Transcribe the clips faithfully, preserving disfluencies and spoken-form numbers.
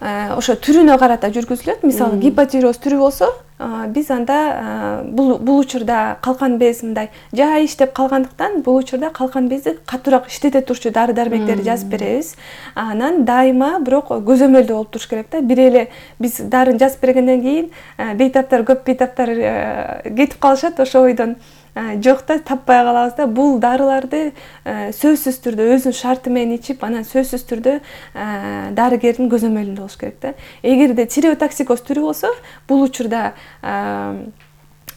ошо түрүнө карата жүргүзүлөт. Мисалы гипотиреоз түрү болсо, биз анда бул бул учурда калкан без мындай жай иштеп калгандыктан бул учурда калкан безди катуураак иштете турчу дары-дармектерди жазып беребиз. Анан дайыма бирок көзөмөлдө болуп туруш керек да. Бир эле биз дарын жазып бергенден кийин бейтаптар, көп бейтаптар кетип калышат, ошо ойдон жок да, таппай калабыз да. Бул дарыларды сөзсүз түрдө өзүнүн шарты менен ичип, анан сөзсүз түрдө дарыгердин көзөмөлүндө болуш керек да. Эгерде тиреотоксикоз түрү болсо, бул учурда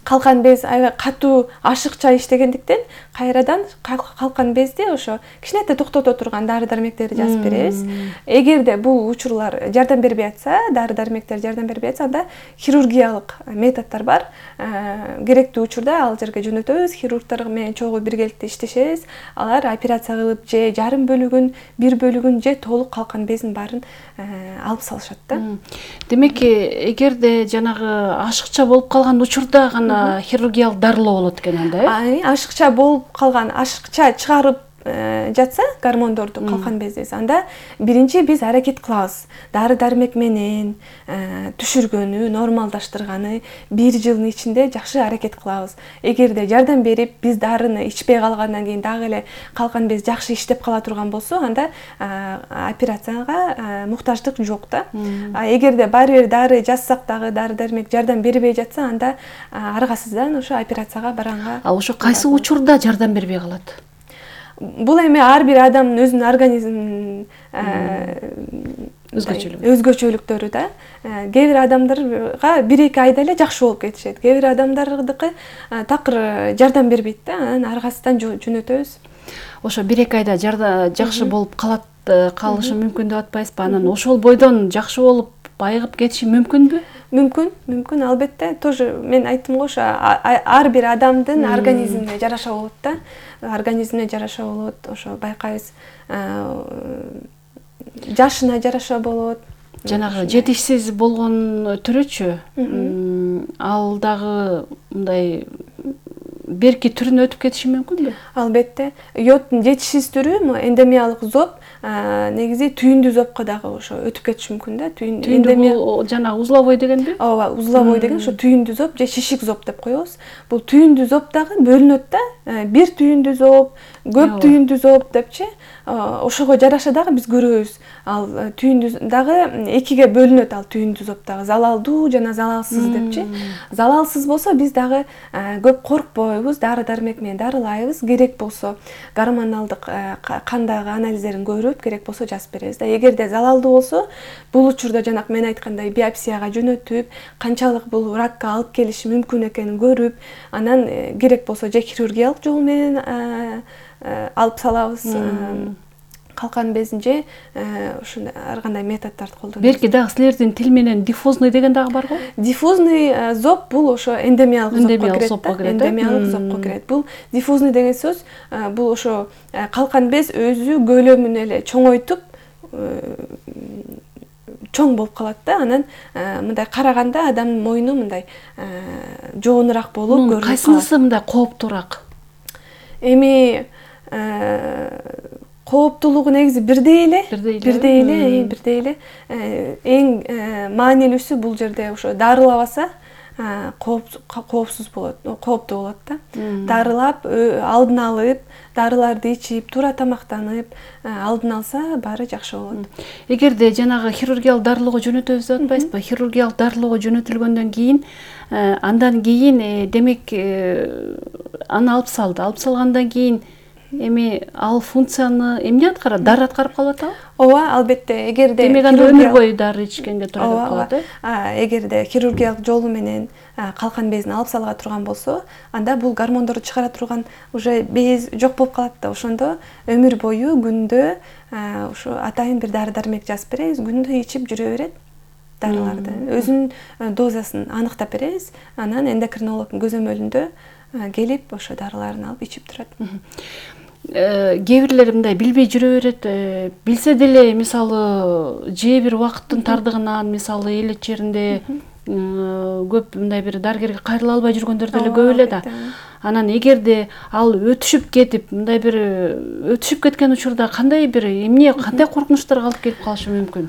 калкан без аябай катуу ашыкча иштегендиктен кайрадан калкан безди ошо кичинекей токтото турган дары-дармектерди жазып беребиз. Эгерде бул учурлар жардам бербей атса, дары-дармектер жардам бербей атса, анда хирургиялык методдор бар. Керектүү учурда ал жерге жөнөтөбүз, хирургтар менен чогуу биргеликте иштешебиз. Алар операция кылып же жарым бөлүгүн, бир бөлүгүн же толук калкан бездин баарын алып салышат да. Демек, эгерде жанагы ашыкча болуп калган учурда гана хирургиялык дарылоо болот экен анда, э? Ашыкча болуп калган, ашыкча чыгарып жатса гормондорду калкан бездес, анда биринчи биз аракет кылабыз. Дары-дармек менен түшүргөнү, нормалдаштырганы бир жылдын ичинде жакшы аракет кылабыз. Эгерде жардам берип, биз дарыны ичпей калгандан кийин дагы эле калкан без жакшы иштеп кала турган болсо, анда операцияга муктаждык жок да. Эгерде баары бир дары жазсак дагы дары-дармек жардам бербей жатса, анда аргасыздан ошо операцияга барганга. А ошо кайсы учурда жардам бербей калат? Бул эми ар бир адамдын өзүнүн организминин өзгөчөлүктөрү да. Кээ бир адамдарга бир эки айда эле жакшы болуп кетишет. Кээ бир адамдардыкы такыр жардам бербейт да, анан аргасыздан жөнөтөбүз. Ошо бир эки айда жакшы болуп калат, калышы мүмкүн деп атпайсызбы? Анан ошол бойдон жакшы болуп байыгып кетиши мүмкүнбү? Мүмкүн, мүмкүн, албетте. Тоже мен айттым го, ошо ар бир адамдын организмине жараша болот да. Организмине жараша болот, ошо байкайбыз. Жашына жараша болот. Жанагы жетишсиз болгон түрөчү, ал дагы мындай берки түрүнө өтүп кетиши мүмкүнбү? Албетте. Йоддун жетишсиз түрү эндемиялык зоб, негизи түйүндүү зобко дагы ошо өтүп кетиши мүмкүн да. Түйүндүү бул жана узловой дегенби? Ооба, узловой деген ошо түйүндүү зоб же шишик зоб деп коебуз. Бул түйүндүү зоб дагы бөлүнөт да. Бир түйүндүү зоб, көп түйүндүү зоб депчи. Ошого жараша дагы биз көрөбүз. Ал түйүндүү дагы экиге бөлүнөт, ал түйүндүү зоб дагы залалдуу жана залалсыз депчи. Залалсыз болсо биз дагы көп коркпойбуз, дары-дармек менен дарылайбыз. Керек болсо гормоналдык кандагы анализдерин көрүп, керек болсо жазып беребиз да. Эгерде залалдуу болсо, бул учурда жанак мен айткандай биопсияга жөнөтүп, канчалык бул ракка алып келиши мүмкүн экенин көрүп, анан керек болсо же хирургиялык жол менен алып салабыз. Калкан безин же ушундай ар кандай методдорду колдонобуз. Белки дагы силердин тил менен диффузный деген дагы барго? Диффузный зоб бул ошо эндемиялык зобко кирет. Эндемиялык зобко кирет. Бул диффузный деген сөз, бул ошо калкан без өзү көлөмүн эле чоңойтуп чоң болуп калат да. Анан мындай караганда адамдын мойну мындай жоонураак болуп көрүнүп калат. Кайсынысы мындай кооптуураак? Эми кооптуулугу негизи бирдей эле, бирдей эле, бирдей эле. Эң маанилүүсү бул жерде ошо дарылабаса коопсуз болот, кооптуу болот да. Дарылап, алдын алып, дарыларды ичип, туура тамактанып, алдын алса баары жакшы болот. Эгерде жанагы хирургиялык дарылоого жөнөтөбүз деп атпайсызбы? Хирургиялык дарылоого жөнөтүлгөндөн кийин, андан кийин демек аны алып салды. Алып салгандан кийин эми ал функцияны эмне аткарат? Дары аткарып калып атабы? Ооба, албетте. Эгерде демек анда өмүр бою дары ичкенге туура келип калат, э? Эгерде хирургиялык жолу менен калкан безин алып салга турган болсо, анда бул гормондорду чыгара турган уже без жок болуп калат да. Ошондо өмүр бою күндө ушу атайын бир дары-дармек жазып беребиз, күндө ичип жүрө берет дарыларды. Өзүнүн дозасын аныктап беребиз, анан эндокринологдун көзөмөлүндө келип ошо дарыларын алып ичип турат. Кээ бирлер мындай билбей жүрө берет, билсе деле мисалы же бир убакыттын тардыгынан, мисалы элет жеринде көп мындай бир дарыгерге кайрыла албай жүргөндөр деле көп эле да. Анан эгерде ал өтүшүп кетип, мындай бир өтүшүп кеткен учурда кандай бир эмне, кандай коркунучтарга алып келип калышы мүмкүн?